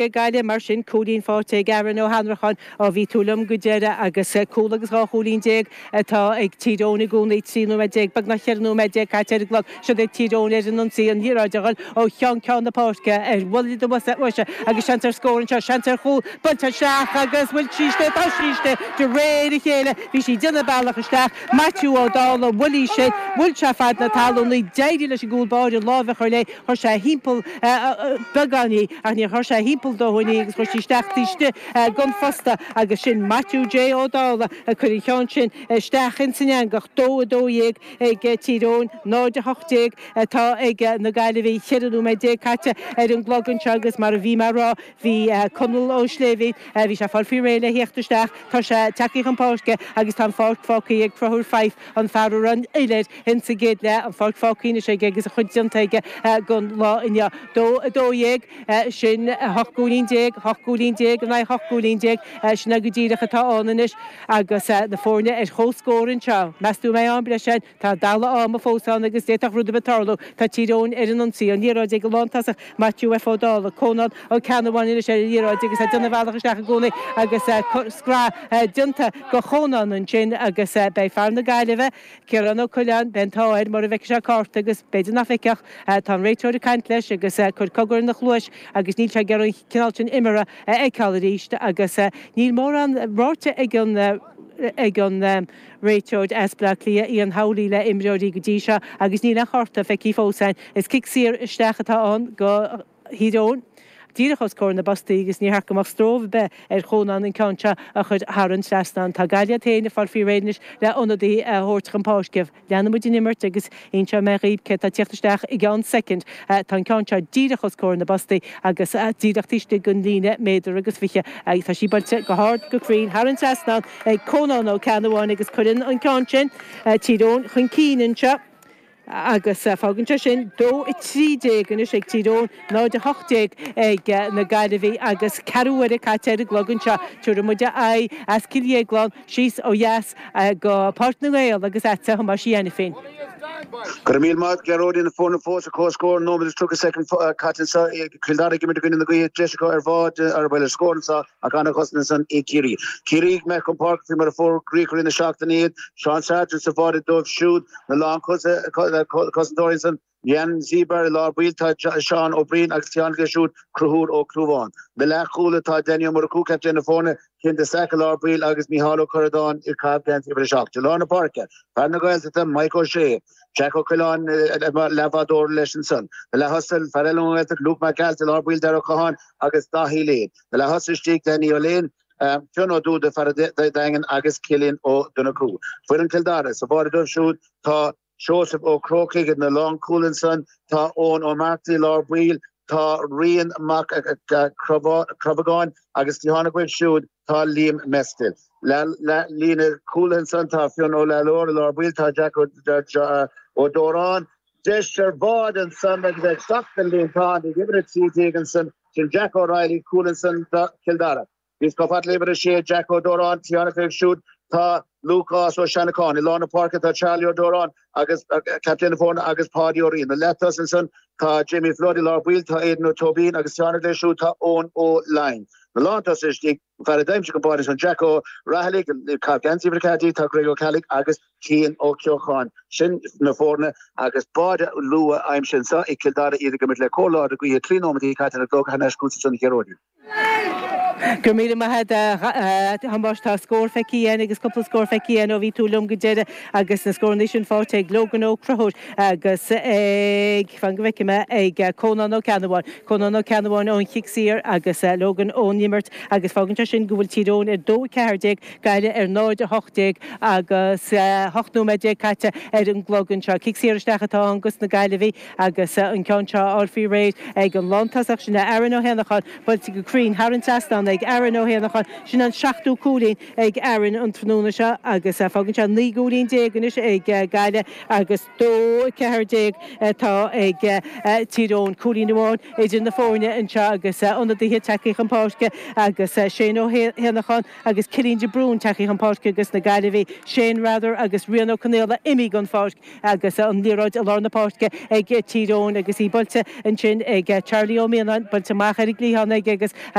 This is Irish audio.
Ag Gaillimh, mar sin, cúilín faighte ag Aaron Ó hAnnracháin ó bhí tú liom go deireadh agus cúl agus 12 chúilín atá ag Tír Eoghain i gcónaí, 13 nóiméad, beagnach 14 nóiméad caite ar an gclog. Siod é Tír Eoghain ar an ionsaí, an liathróid a dhul ó cheann ceann na páirce ar bhuille do bhoise agus seans ar scór anseo, seans ar chúl, buailte isteach agus bhfuil sí istigh, tá sí istigh de réir a chéile, bhí sí ag déanamh a bealach isteach, Maitiú Ó Dálaigh, bhuail í sin, bhuail sé fad na talún í, d'éirigh leis an gcúl báire lámh a chur léi. Chuir sé thimpeall beagán í ach níor chuir sé thimpeall dóthain í agus chuir sí isteach taobh istigh gon phosta agus sin Maitiú J Ó Dálaigh ag cur an cheann sin isteach ins an eangach. 2, 12 ag Tír Eoghain, 0, 18 atá ag na Gaillimhigh. 14 nóiméad caite ar an gclog anseo agus mar a bhí mé a rá bhí Conall Ó Sléibhín, bhí sé ag fáil faoi réir le theacht isteach, tá sé tagtha chun páirce agus tá an pháirc fágtha ag Conchúr Fyfe, an fear a raibh an fhuil air Ins an gcéad leath, an pháirc fágtha anois aige agus a chuid déanta aige gon lá inniu. 2, 12, sin 18 gcúilín, 18 gcúilín in aghaidh 18 gcúilín, sin é go díreach atá ann anois agus na foirne ar comhscór anseo. Meas tú an mbeidh am breise ann? Tá dalladh ama fós ann agus d'fhéadfadh rud ar bith tarlú. Tá Tír Eoghain ar an ionsaí, an liathróid ag an lántosach Maitiú F Ó Dálaigh, Conán Ó Ceannabháin anois ar an liathróid agus é ag déanamh a bhealach isteach i gcónaí agus scraith déanta go Chonán ansin agus beidh fear na Gaillimhe, Ciarán Ó Coileáin, beidh an t-ádh air mura bhfeicfidh sé cárta agus b'fhéidir nach bhfeicfeadh. Tá an réiteoir ag caint leis agus ag cur cogar ina chluais agus níl sé ag iarraidh an cineál sin imeartha a fheiceáil arís agus níl mórán ráite ag an ag an réiteoir as Baile Átha Cliath, Ian Howley le imreoirí go dtí seo agus níl aon chárta feicthe fós againn. Is cic saor isteach atá ann go Thír Eoghain díreach os comhair na bpostaí agus níor cheart go mbeadh stró ar bith ar Chónán an ceann seo a chur thar an trasnán. Tá Gaillimh iad féin ag fáil faoi réir anois le ionadaí a thabhairt chun páirce. Leanfaidh muid an imirt agus inseoidh mé dhaoibh cé atá ag tíocht isteach i gceann soicind. Tá an ceann seo díreach os comhair na bpostaí agus díreach taobh istigh den líne méadar agus fiche agus tá sí buailte go hard go cruinn thar an trasnán ag Cónán Ó Ceannabháin agus cuireann an ceann sin Tír Eoghain chun cinn anseo. Agus fágann sé sin 2, 13 anois ag Tír Eoghain, 0, 18 ag na Gaillimhigh agus ceathrú uaire caite ar an gclog anseo. Tabharfaidh muid aghaidh as Cill Dhéagláin síos ó dheas go Páirc na nGael agus agatsa a Thomáis Uí Ainifín. Go raibh míle maith agat, Gearóidín. Na foirne fós ar comhscór, nóiméad is 30 soicind caite anseo. Cill Dara ag imirt i gcoinne na gaoithe, deis acu ar bháide, ar bhuel ar scór anseo ach an-chosaint ansan ag Ciarraí. Ciarraí ag imeacht chun páirce faoi mar a fógraíodh i rith na seachtaine iad. Seán Sargent sa bháide dóibh siúd. Na lánchosantóirí ansan, Jan Sieber i lár baill, tá Seán Ó Briain agus taobh leis siúd Conchúr Ó Clúmháin. Na leathchúlaithe tá Danny Ó Murchú, captaen na foirne, Cian de Staic i lár baill agus Micheál Ó Curradáin ag caitheamh geansaí uimhir 7. I lár na páirce, fear na Gaeltachta, Mike Ó Sé, Jack Ó Coileáin leathbhádóir leis ansan. Na leath-thosaithe, fear eile ón nGaeltacht, Luke Mac Gearailt i lár baill, Darragh Ó Catháin agus Daithí Lane. Na leath-thosaithe istigh, Danny Ó Léin, Fionn Ó Dúda, fear an Daingin agus Cillian Ó Donnchú. Foireann Chill Dara, sa bháide dóibh siúd tá Seosamh Ó Crócaigh ina lánchúl ansan, tá Eoin Ó Marcaigh i lár baill, tá Rian Mac Crobhagáin agus taobh thiar dóibh siúd tá Liam Mestel. Líne cúlaithe ansan tá Fionn Ó Lalor i lár baill, tá Jack Ó Dóráin, deis ar bháide ansan agus ag teacht den líontán ag uimhir 13 ansan, sin Jack O'Reilly, cúl ansan do Chill Dara. Níos chomh fada le uimhir 6, Jack Ó Dóráin, taobh thiar dóibh siúd tá Lúcás Ó Seanacháin. I lár na páirce tá Charlie Ó Dóráin agus captaen na foirne agus Páidí Ó Riain. Na leath-tosaithe ansan tá Jamie Flood i lár baill, tá Aidan Ó Tóibín agus taobh thiar dóibh siúd tá Eoin Ó Laighin. Na lántosaithe istigh, fear a d'aimsigh an báide ansan Jack Ó Raghallaigh, ag caitheamh geansaí uimhir 14 tá Greg Ó Ceallaigh agus Cian Ó Ceocháin. Sin na foirne agus báide luath aimsithe anseo ag Cill Dara iad ag imirt le cóir láidir gaoithe 3 nóiméad caite ar an gclog thar n-ais chugatsa ansan a Ghearóidín. Go raibh míle maith agat a Thomáis. Tá scór feicthe again agus cúpla scór feicthe again ó bhí tú liom go deireadh agus na scóranna sin faighte ag Logan Ó Conchúir agus ag, fan go bhfeicfidh mé, ag Cónán Ó Ceannabháin. Cónán Ó Ceannabháin ón chic saor agus Logan ón imirt agus fágann sé sin go bhfuil Tír Eoghain ar 2-14, Gaillimh ar 0-18 agus 18 nóiméad caite ar an gclog anseo. Cic saor isteach atá ann dos na Gaillimhigh. Agus an ceann seo á fháil faoi réir ag an lántosach, sin é Aaron Ó hÉanacháin, buailte go cruinn thar an trasnán. ag Aaron Ó hÉanacháin. Sin an seachtú cúilín ag Aaron an tráthnóna seo agus fágann sé 19 gcúilín anois ag Gaillimh agus 2, 14 atá ag Tír Eoghain. Cúilín amháin idir na foirne anseo agus ionadaithe tagtha chun páirce agus Shane Ó hÉanacháin agus Cillian de Brún tagtha chun páirce dos na Gaillimhigh, Shane Rather agus Rian Ó Conaola imithe den pháirc agus an liathróid i lár na páirce ag Tír Eoghain agus í buailte ansin ag Charlie Ó Mianáin, buailte amach ar an gcliathán aige agus.